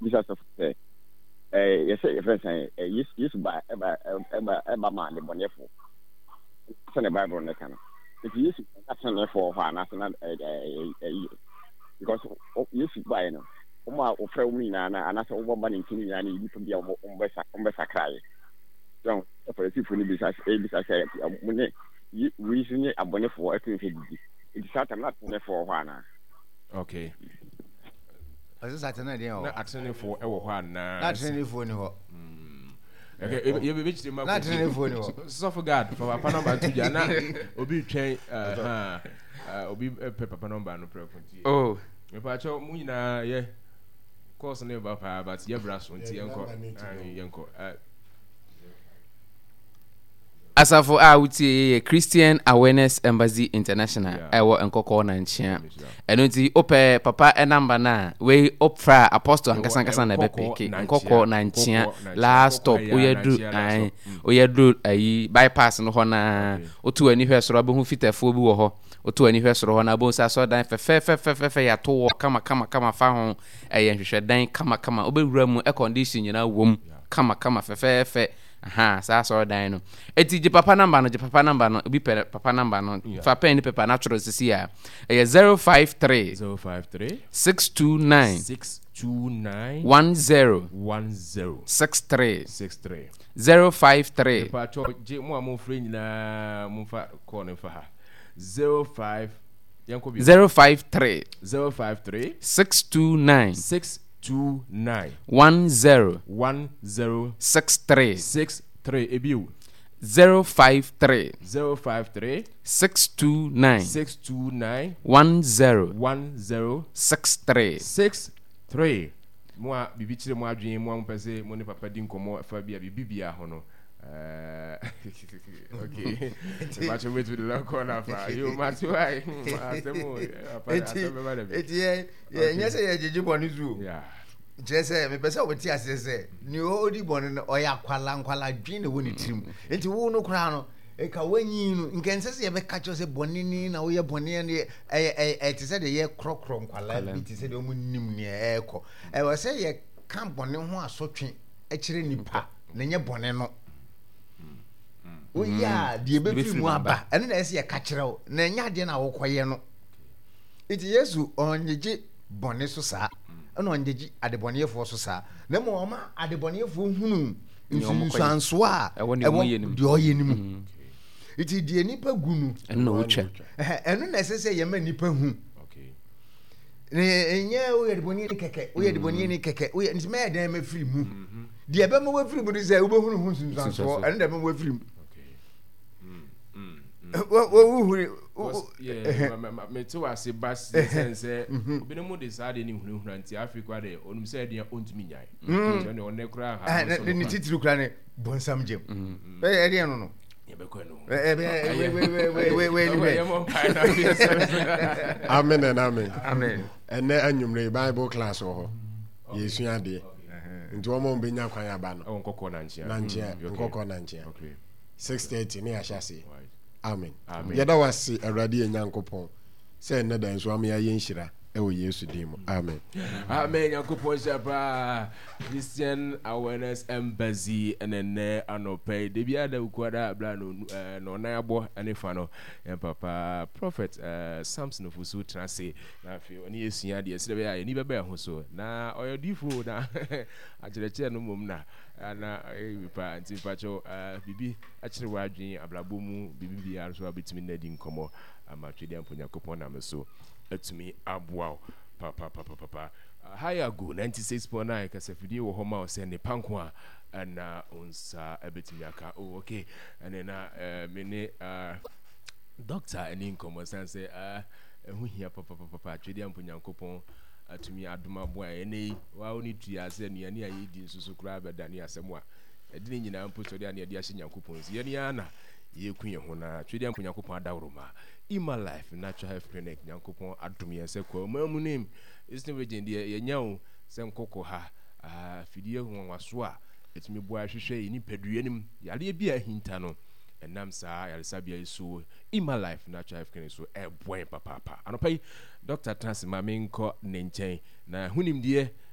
bisa sɔfo sɛ ɛɛ yɛsɛ yɛfrɛ sɛn ɛɛ Yesu Yesu ba ɛba ɛba ɛba ma adebɔneyɛfo sɛnea Bible no ka no. Nti Yesu na teneneefo wɔ hɔ anaasɛ na ɛɛ ɛɛ ɛyi because Yesu baeɛ no wɔn a wɔfrɛ wɔn nyinaa na anaasɛ wɔba ne nkyɛn nyinaa no yɛ nnipa bi a wɔn wɔn bɛsakraeɛ. So Farisifo no bisa ebisa sɛ mo ne wei nso ne abɔnefoɔ ɛtumi sɛ didi nti saa tam na atenenefoɔ wɔ hɔ anaa? Okay. Ɔsɛ sɛ atene deɛ wɔ. Na atenenefoɔ wɔ hɔ anaa? Na atenenefoɔ ni hɔ. Okay, yɛbɛkyerɛ mu akɔ. Na atenenefoɔ ni hɔ. Sɔfo guard fa papa nɔmba to dwa na obi twɛn obi pɛ papa nɔmba no prɛko nti. Oh. Mepaakyɛw mo nyinaa yɛ course ne ba paa but yɛbra so nti yɛnkɔ yɛnkɔ. Asafo a wotie yi yɛ Christian Awareness Embassy International a ɛwɔ Nkɔkɔɔ Nankyea. Ɛno nti wopɛ papa namba no a, wei wofrɛ a Apostle ankasa ankasa na ɛbɛpeke. Nkɔkɔɔ Nankyea last stop woyɛ duru ae woyɛ duru ayi bypass no hɔ na woto w'ani hwɛ soro abɛhu fitafoɔ bi wɔ hɔ. Woto w'ani hwɛ soro hɔ na abɛhu sɛ asɔredan fɛfɛɛfɛfɛfɛ yɛato wɔ kama kama kama fa ho ɛyɛ nhwehwɛdan kama kama wobɛwura mu air condition nyinaa wom kama kama fɛfɛɛfɛ. Ahaa, saa asɔredan no. Eti gye papa namba no, gye papa namba no. Obi pɛ papa namba no. Fa pɛn ne pepa na twerɛ sisi a. Ɛyɛ 053 053 629 629 10 10 63 63 053. Mepatwɔ gye mo a mofrɛ nyinaa momfa kɔɔ no mfa ha. 05 yɛnkɔ bio. 053 053 629 629 10 10 63 63 ebio. 053 053 629 629 10 10 63. 63. Mo a biribi kyerɛ mo adwene, mo a mopɛ sɛ mo ne papa di nkɔmmɔ ɛfa bi a biribi biara ho no. Okay. Mepakyɛ wobɛtumi de lɔkɔ no afa. Yo, mate wae. Asɛm o. Papa, asɛm bɛba da bi. Eti yɛ yɛ nyɛ sɛ yɛgyegye bɔne so o. Yeah. Kyerɛ sɛ mepɛ sɛ wote aseɛ sɛ nea ɔdi bɔne no ɔyɛ akwala nkwala dwen na ɛwɔ ne tirim. Nti wo no koraa no nka wanyin no nka ɛnsɛ sɛ yɛbɛka kyerɛ sɛ bɔne ni na woyɛ bɔne ɛne ɛyɛ ɛyɛ ɛte sɛ deɛ yɛkorɔkorɔ nkwala bi te sɛ deɛ wɔn nim nea ɛrekɔ. Ɛwɔ sɛ yɛka bɔne ho asotwe kyerɛ nipa na ɛnyɛ bɔne no. Woyɛ a deɛ ɛbɛfiri mu aba ɛno na ɛsɛ yɛka kyerɛ wo na ɛnyɛ adeɛ na wokɔyɛ no. Nti Yesu ɔngyegye bɔne so saa ɛna ɔngyegye adebɔneyɛfoɔ so saa na mmom ɔma adebɔneyɛfoɔ hunu nsunsuansoɔ a ɛwɔ deɛ ɔyɛ no mu. Nti deɛ nipa gu no ɛno na ɔtwa. Ɛno na ɛsɛ sɛ yɛma nipa hu. Ɛnyɛ woyɛ debɔneyɛni kɛkɛ woyɛ debɔneyɛni kɛkɛ woyɛ nti mɛyɛ dɛn mɛfiri mu. Deɛ ɛbɛma wafiri mu no sɛ wobɛhunu ho nsunsuansoɔ ɛno na ɛbɛma wafiri mu. Wohuri mete wase ba sɛn sɛ obinom de saa deɛ ne hunahuna nti afei koraa deɛ ɔnim sɛ ɛdeɛ ɔntumi nyae nti ɔne ɔnɛ koraa ha ne titiri koraa ne bɔnsam gyem ɛdeɛ no no yɛbɛkɔ no amen and amen. Amen. Ɛnɛ anwummere Bible class wɔ hɔ. Yɛsua adeɛ. Nti wɔn a wɔbɛnya kwan aba no. Ɛwɔ Nkɔkɔɔ Nankyea. Nankyea, Nkɔkɔɔ Nankyea. 6:30 ne yɛahyɛ aseɛ. Amen. Amen. Yɛda wo ase Awurade yɛn Nyankopɔn sɛ ɛnnɛ da nso ama yɛayɛ nhyira ɛwɔ Yesu din mu. Amen. Amen. Nyankopɔn nhyira paa. Christian Awareness Embassy ɛna ɛnɛ anɔpa yi. Da biara da Wukuada bla no eh, na ɔnan abɔ ɛne fa no. Yɛn papa Prophet eh, Samson Ofosu tena ase na afei ɔne yɛ sua adeɛ sɛdeɛ ɛbɛyɛ a yɛn ani bɛba yɛn ho so. Na ɔyɛ odiyifoɔ na akyerɛkyerɛ no mmom na na ɛyɛ bi paa nti mpakyɛw biribi akyerɛ w'adwene abrabɔ mu biribi biara nso a wobɛtumi ne adi nkɔmmɔ ama Twedeɛ Nyankopɔn nam so atumi aboa wo papapapapa. Hayago 96.9 kasafidie wɔ hɔ ma wo sɛ nnepa nko a ɛna wo nsa ɛbɛtumi aka. Oh, okay. Ɛne na me ne doctor ɛne nkɔmmɔ san sɛ ɛho hia papapapapa. Twedeɛ Nyankopɔn atumi adom aboa yɛn. Ɛnɛ yi, wa wo ne tua sɛ nnuane a yɛdi nso so koraa bɛdane asɛm a ɛde ne nyinaa mpo sɔre a ne yɛde ahyɛ Nyankopɔn nsi. Yɛne ara na yɛku yɛn ho na Twedeɛ mpo Nyankopɔn adaworoma. Ima Life Natural Health Clinic Nyankopɔn adom yɛn sɛ Kwaman mu ne Eastern Region deɛ yɛnya o sɛ nkɔkɔ ha afidie nwanwaso a ɛtumi boa hwehwɛ yɛn nipadua no mu yareɛ bi a ahinta no ɛnam saa yaresabea yi so Ima Life Natural Health Clinic so ɛboa yɛn papaapa. Anɔpa yi Dɔkta tena ase ma menkɔ ne nkyɛn na ho nimdeɛ.